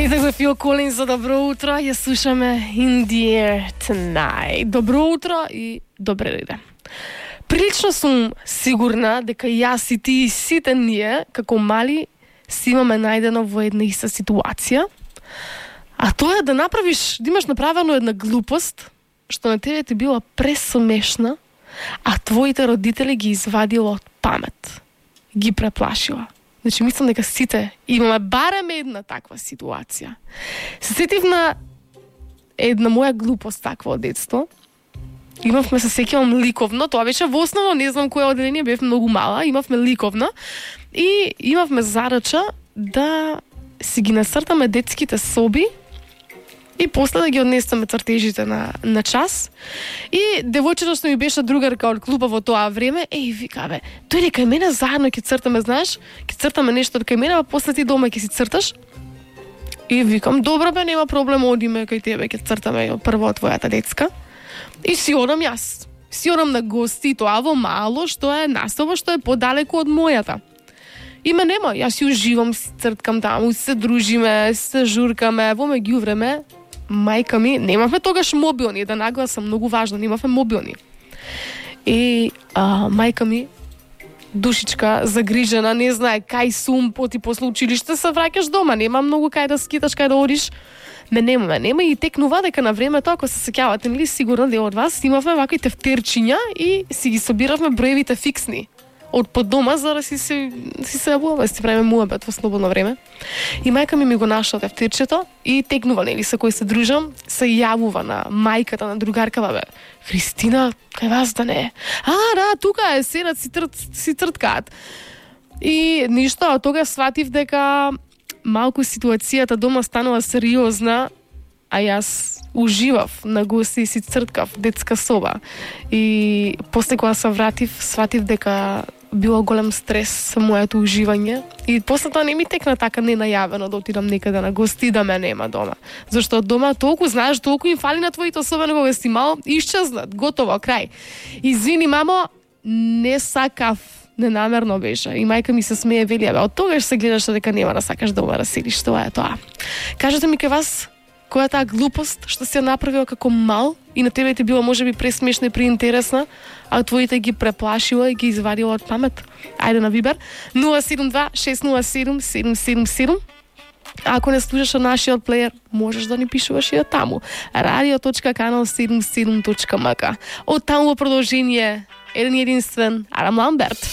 Петък за Фил Колинс за добро утро. Я слушаме In the Air Tonight. Добро утро и добре дојде. Прилично сум сигурна дека јас и ти и сите ние, како мали, си имаме најдено во една иста ситуација. А тоа е да направиш, да имаш направено една глупост, што на тебе ти била пресмешна, а твоите родители ги извадила од памет. Ги преплашила. Значи, мислам дека сите имаме барем една таква ситуација. Се сетив на една моја глупост таква од детство. Имавме, се сеќавам, ликовна. Тоа беше во основно, не знам кое одделение, бев многу мала. Имавме ликовна и имавме зарача да си ги нацртаме детските соби и после да ги однесеме цртежите на час. И девојчето што ми беше другарка од клуба во тоа време, вика, тој кај мене заедно ќе цртаме, знаеш, ќе цртаме нешто кај мене, а после ти дома ќе си црташ. И викам, добро бе, нема проблем, одиме кај тебе, ќе цртаме прво твојата детска. И си одам јас. Си одам на гости, тоа во мало, што е настоба, што е подалеку од мојата. Има нема, јас си уживам, си црткам таму, се дружиме, се журкаме, во меѓувреме, мајка ми, немавме тогаш мобилни, да нагласам, многу важно, немавме мобилни. И мајка ми, душичка, загрижена, не знае кај сум, поти после училиште се враќаш дома, нема многу кај да скиташ, кај да одиш. Нема и текнува дека на времето, ако се сеќавате, нели сигурно дел од вас, имавме вакви тефтерчиња и си ги собиравме броевите фиксни од под дома, за да си се јавуваме, си правиме муабет во слободно време. И мајка ми го нашла тефтерчето и текнува, нели, со кој се дружам, се јавува на мајката, на другаркава, бе. Христина, кај вас да не е? Да, тука е, седат си црткаат. И ништо, од тога сватив дека малку ситуацијата дома станува сериозна, а јас уживав на гости и си црткав детска соба. И после кога се вратив, сватив дека било голем стрес со моето уживање. И после тоа не ми текна така ненајавено да отидам некаде на гости да ме нема дома. Зашто од дома толку знаеш, толку им фали на твоите, особено кога си мал, исчезнат, готово, крај. Извини, мамо, не сакав. Ненамерно беше. И мајка ми се смее, вели, од тогаш се гледаш дека нема да сакаш дома да седиш. Тоа е тоа. Кажете ми кај вас, која е таа глупост што си ја направила како мал и на тебе ти било можеби пресмешна и преинтересна, а твоите ги преплашила и ги извадила од памет? Ајде на Вибер 072-607-777. А ако не слушаш нашиот плеер, можеш да ни пишуваш и таму. radio.canal77.mk. Од таму во продолжение еден единствен Адам Ламберт.